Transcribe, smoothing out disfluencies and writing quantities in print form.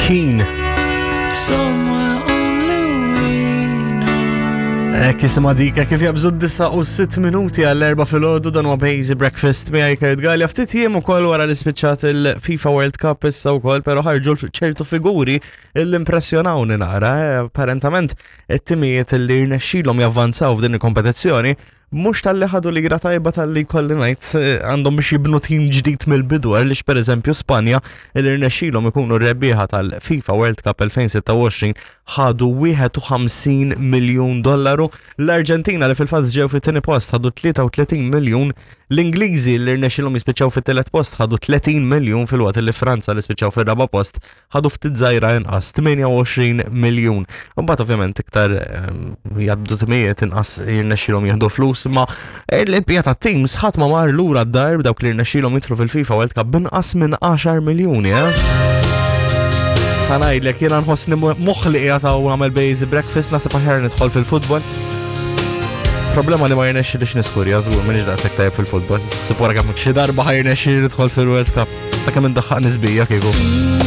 Keen. Ek jisima dika kif jabżu d-disa u 6 minuti għall-erba fil-ħodu dan huwa Bazy Breakfast miegħi Kurt Gallia. Ftit jiem ukoll wara li spiċċat il-FIFA World Cup issa wkoll, però ħarġu ċertu figuri l-impressjonawni nara. Eh, apparentament it-timijiet li rnexxilhom javvanzaw f'din il-kompetizzjoni mhux talli ħadu lira tajba talli jkolli ngħid eh, għandhom biex jibnu tim ġdid mill-bidu għaliex pereżempju Spanja li rnexxilhom ikunu rebbieħa tal-FIFA World Cup 2026 ħadu 51 miljun dollaru, l-Arġentina li fil-fatt ġew fit-tieni post ħadu 33 miljun, l-Ingliżi li rnexxilhom jispiċċaw fit-tielet post ħadu 30 miljun filwaqt li Franza li spiċċaw fir-raba' post ħadu ftit żgħira inqas 28 miljun. Imbagħad ovvjament iktar ehm, jgħaddu timijiet inqas jirnexxilhom jieħdu flus, imma il-bija ta' teams ħadd ma mar lura d-dar dawk li jirnexxilhom jidħlu fil-FIFA World Cup binqas minn 10 miljuni, eh? Ħanajdlek jiena nħossni moħħli qiegħed hawn nagħmel basic breakfast naħseb aħjar nidħol fil-futbol. Problema li ma jirnexxilix niskurja żgur m'iniex daqshekk tajjeb fil-futbol. Sib wara kemm xi darba ħajrnexxili nidħol fil-World Cup. Ta' kemm indaħħaq nisbija kieku.